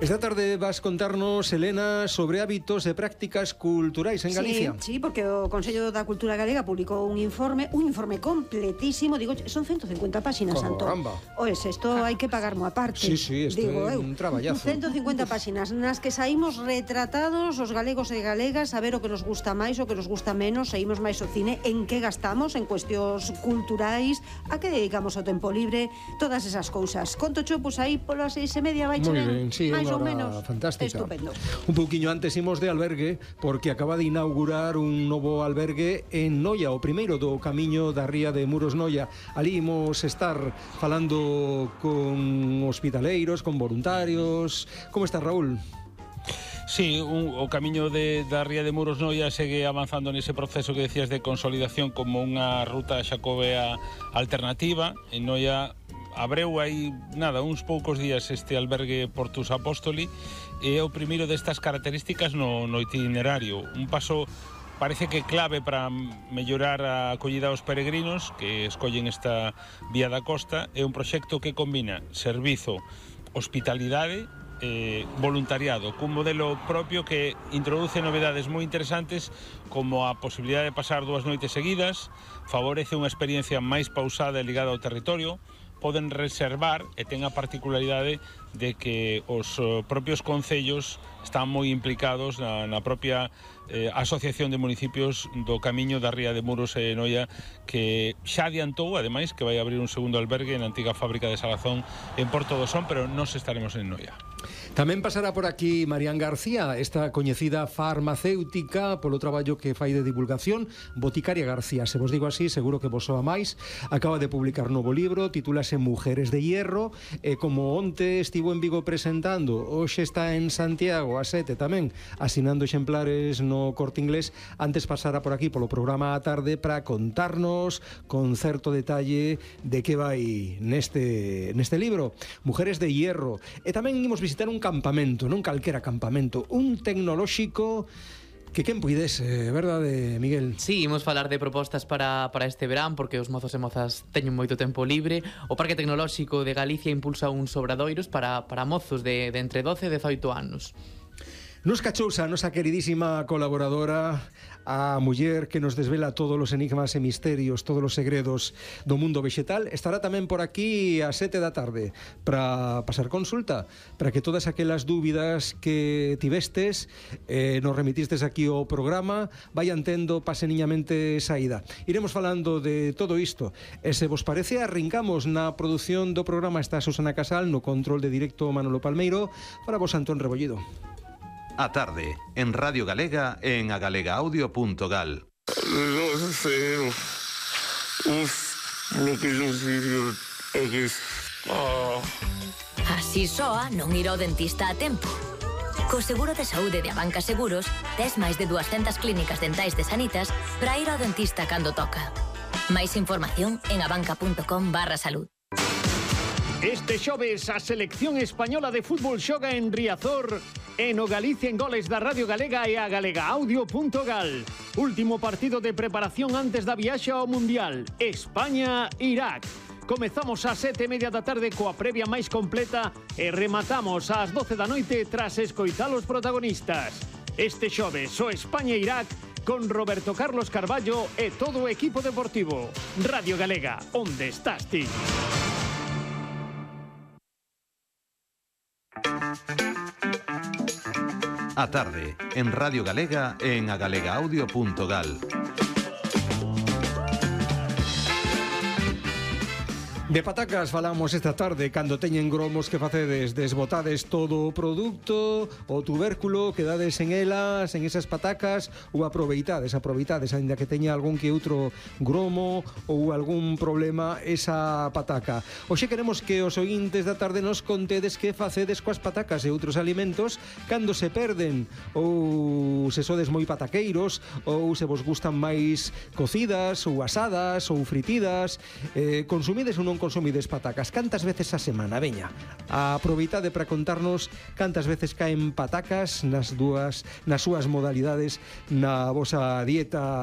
Esta tarde vas contarnos, Elena, sobre hábitos e prácticas culturais en Galicia. Sí, porque o Consello da Cultura Galega publicou un informe completísimo, digo, son 150 páxinas, Santo. Caramba. Oes, isto hai que pagar mo aparte. Sí, isto é un traballazo. 150 páxinas nas que saímos retratados os galegos e galegas, a ver o que nos gusta máis, o que nos gusta menos, saímos máis o cine, en que gastamos, en cuestións culturais, a que dedicamos o tempo libre, todas esas cousas. Conto cho, pois aí polas 6:30 vai Moi chegar. ben, sí, máis ou unha menos. hora fantástica. Estupendo. Un pouquiño antes imos de albergue, porque acaba de inaugurar un novo albergue en Noia, o primeiro do camiño da ría de Muros Noia. Ali imos estar falando con hospitaleiros, con voluntarios. Como está, Raúl? Sí, o camiño da ría de Muros Noia segue avanzando nese proceso que decías de consolidación como unha ruta xacobea alternativa. En Noia abreu aí, uns poucos días este albergue Portus Apóstoli, e é o primeiro destas características no itinerario. Un paso parece que clave para mellorar a acollida aos peregrinos que escollen esta vía da costa. É un proxecto que combina servizo, hospitalidade, voluntariado, cun modelo propio que introduce novedades moi interesantes, como a posibilidade de pasar 2 noites seguidas, favorece unha experiencia máis pausada e ligada ao territorio, poden reservar e ten a particularidade de que os propios concellos están moi implicados na propia asociación de municipios do camiño da ría de Muros e Noia, que xa adiantou, ademais, que vai abrir un segundo albergue na antiga fábrica de Salazón en Porto do Son, pero nós estaremos en Noia. Tamén pasará por aquí Marián García, esta coñecida farmacéutica polo traballo que fai de divulgación, Boticaria García, se vos digo así, seguro que vos soa máis. Acaba de publicar novo libro, titúlase Mujeres de Hierro, e como onte estivo en Vigo presentando, hoxe está en Santiago a 7 tamén, asinando exemplares no Corte Inglés. Antes pasará por aquí polo programa á tarde para contarnos con certo detalle de que vai neste libro, Mujeres de Hierro. E tamén imos visitar un campamento, non calquera campamento, un tecnolóxico que quen puidese, verdade, Miguel? Sí, imos falar de propostas para este verán, porque os mozos e mozas teñen moito tempo libre. O Parque Tecnolóxico de Galicia impulsa uns obradoiros para mozos de entre 12 e 18 anos. Nos cachousa a nosa queridísima colaboradora, a muller que nos desvela todos os enigmas e misterios, todos os segredos do mundo vegetal. Estará tamén por aquí a 7 da tarde para pasar consulta, para que todas aquelas dúbidas que tivestes nos remitistes aquí ao programa vayan tendo paseniñamente saída. Iremos falando de todo isto, e se vos parece arrancamos na produción do programa. Está Susana Casal, no control de directo Manolo Palmeiro, para vos Antón Rebollido. A tarde, en Radio Galega, en agalegaaudio.gal. Así soa non ir ao dentista a tempo. Co seguro de saúde de Abanca Seguros, tes máis de 200 clínicas dentais de Sanitas para ir ao dentista cando toca. Máis información en abanca.com/salud. Este xoves a selección española de fútbol xoga en Riazor e no Galicia en Goles da Radio Galega e a galegaaudio.gal. Último partido de preparación antes da viaxe ao Mundial, España-Irak. Comezamos ás 7:30 da tarde coa previa máis completa e rematamos ás 12 da noite tras escoitar os protagonistas. Este xoves o España-Irak con Roberto Carlos Carballo e todo o equipo deportivo. Radio Galega, onde estás ti? A tarde, en Radio Galega, en agalegaaudio.gal. De patacas falamos esta tarde, cando teñen gromos que facedes, desbotades todo o produto, o tubérculo, quedades en elas, en esas patacas, ou aproveitades, aínda que teña algún que outro gromo ou algún problema esa pataca. Hoxe queremos que os ointes da tarde nos contedes que facedes coas patacas e outros alimentos cando se perden, ou se sodes moi pataqueiros, ou se vos gustan máis cocidas, ou asadas, ou fritidas, consumides ou non consumides patacas. Cantas veces a semana? Veña, aproveitade para contarnos cantas veces caen patacas nas súas modalidades na vosa dieta